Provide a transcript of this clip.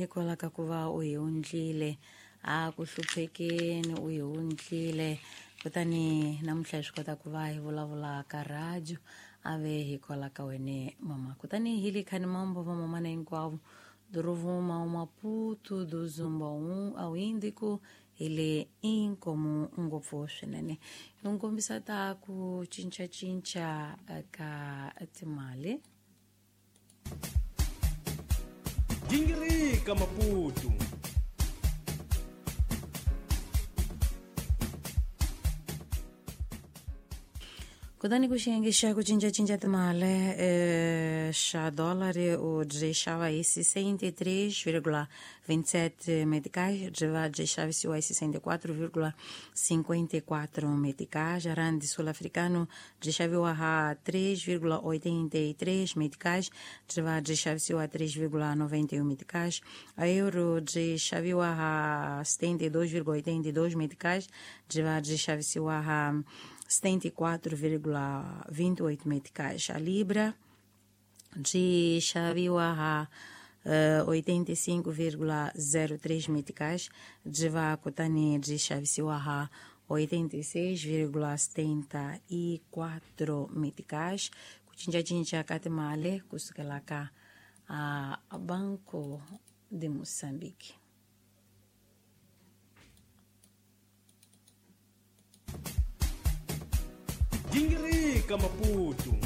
Hikwalaho ka ku va u hi wundlile a ku hluphekeni, u hi wundlile, kutani namuntlha hi swi kota ku va hi vulavula ka radio, a ve hikwalaho ka wene mama. Kutani hi le khani mambo va mamana hinkwavo do Rovuma ao Maputo, do Zumba ao Índico, hi le inkomu ngopfu swinene. Hi n'wi kombisa ta ku cincacinca ka timali. Gingirika Maputo. Kutani ku xiyenge xa ku cincacinca timali, xa dólar u byi xava hi 63,27 meticais, byi va byi xavisiwa hi 64,54 meticais. Rand sul-africano byi xaviwa ha 3,83 meticais, byi va byi xavisiwa 3,91 meticais. A euro byi xaviwa ha 72,82 meticais, byi va byi xavisiwa ha 74,28 meticais. A Libra byi xaviwa ha 85,03 meticais, byi va kutani byi xavisiwa ha 86,74 meticais. Ku cincacinca ka timali kusukela ka Banco de Moçambique. Gingirika Maputo.